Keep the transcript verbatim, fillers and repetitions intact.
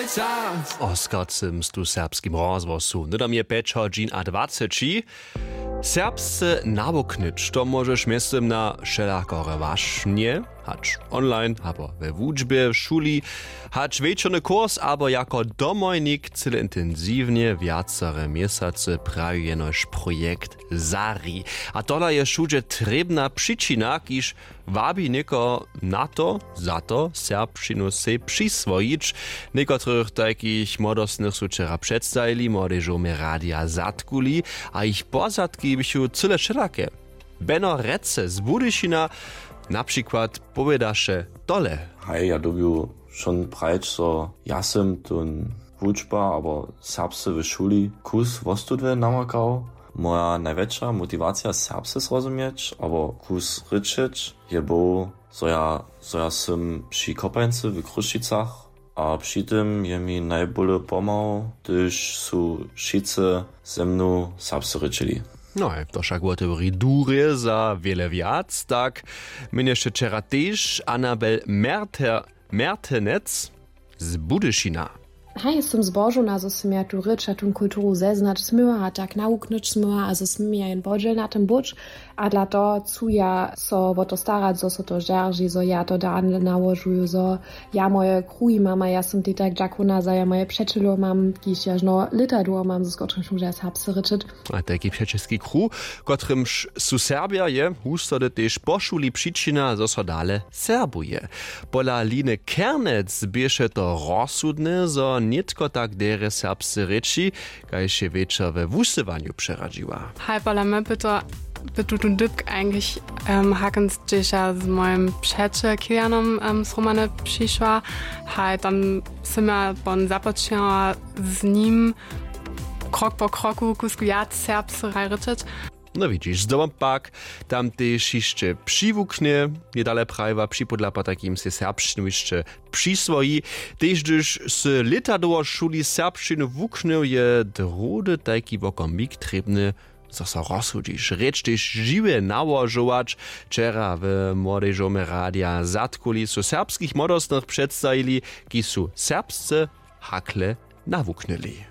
Za w oskarcym stu serbskim rozhłosu hnydom je pjećo dźin a dwaceći. Serbsce nawuknyć to móžeš mjeztym na wšelakore wašnje, hač online abo we wučbje w šuli, hač wječorny kurs abo jako domojnik cyle intensiwnje wjacere měsacy, praji jenož projekt Zari. A tola je wšudźe trěbna přičina, kiž wabi někoho na to, za to serbšćinu sej přiswojić. Někotrych tajkich młodostnych su wčera předstajili, młodej žołmje radija zatkuli, a jich pozadki běchu cyle wšelake. Beno Rece z Budyšina na přikład powědaše tole. Haj, ja dyrbju wšón prajić, zo ja sym tón wučba abo serbsce w šuli kus wostudnje namakał. Moja najwjetša motiwacija serbsce zrozuměć abo kus rěčeć je był, zo ja, zo ja sym při kopańcy w Chrósćicach, a při tym je mi najbóle pomhał, hdyž su wšitcy ze mnu serbsce rěčili. No, to wšak wotewri durje za wjele wjac, tak měnješe wčera tež Anabel Merter, Mertenec z Budyšina. Haj, sym zbožowna, zo sym ja tu rěč a tón kulturu zeznać směła a tak nawuknyć směła a zo smy ja jen podźěl na tym być. A dla toho chcu ja so wo to starać, zo so to zdźerži, zo ja to dane nałožuju, zo ja moje kruhi mam a ja sym tej tak dźakowna, zo ja moje přećelow mam, kiž ja žno lěta dołho mam, z kotrymž móža serbsce rěčeć. A tajki přećelski kruh, kotrymž su Serbja, je hustody tež po šuli přičina, zo so dale serbuje. Pola Line Kernec běše to rozsudne, zo nětko tak derje serbsce rěči, kaž je wječor we wusyłanju přeradźiła. Haj, pola mje by to, by tu tón dypk eigentlich, ähm, hakens, hdźež ja z mojim přećel Kilianom, ähm, zhromadnje přišła. Haj, tam sym ja pon započinała z nim krok po kroku kusk wjac serbsce rěčeć. No widźiš, zdobom pak tam tež hišće přiwuknje, je dale prajiła, připódla potajkim sej serbšćinu hišće přiswoji. Tež hdyž sy lěta dołho w šuli serbšćinu wuknył, je druhdy tajki wokomik trěbny, zo so rozsudźiš rěč tež žiwje nałožować. Wčera w młodej žołmje radija zatkuli su serbskich młodostnych předstajili, kiž su serbsce hakle nawuknyli.